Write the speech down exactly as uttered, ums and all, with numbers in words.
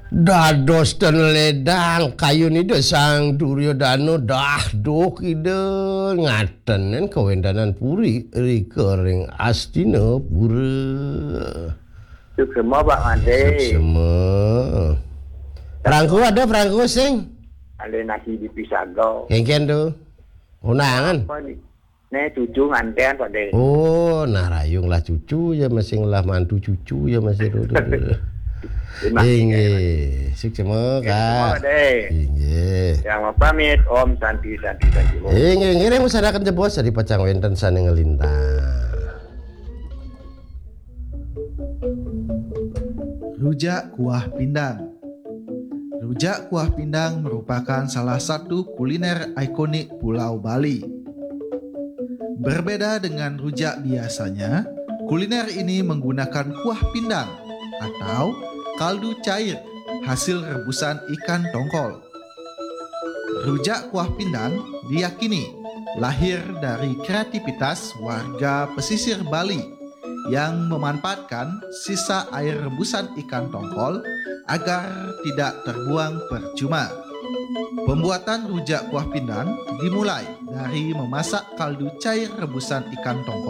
Dados ten ledang kayun Ida Sang Duryodana, dah duh Ida ngatenen kawéntenan puri rika ring Astinapura. Suksma, Pak Made. Suksma. Perangko ada, perangko sing? Ada nasi di Pisaga. Kéngkén to. Undangan. Apa nih? Né cucu nganten, Pak De. Oh, nah rayung lah cucu ya, masih ngelah mantu cucu ya, masih dulu. Terima kasih. Inggih, suksma, Kak. Terima kasih. Inggih. Yang mau pamit, Om Santi, Santi, Santi, Om. Inggih, inggih, ring usadaken jebos, sari pacang wénten sané nglintang. Rujak kuah pindang. Rujak kuah pindang merupakan salah satu kuliner ikonik Pulau Bali. Berbeda dengan rujak biasanya, kuliner ini menggunakan kuah pindang atau kaldu cair hasil rebusan ikan tongkol. Rujak kuah pindang diyakini lahir dari kreativitas warga pesisir Bali yang memanfaatkan sisa air rebusan ikan tongkol agar tidak terbuang percuma. Pembuatan rujak kuah pindang dimulai dari memasak kaldu cair rebusan ikan tongkol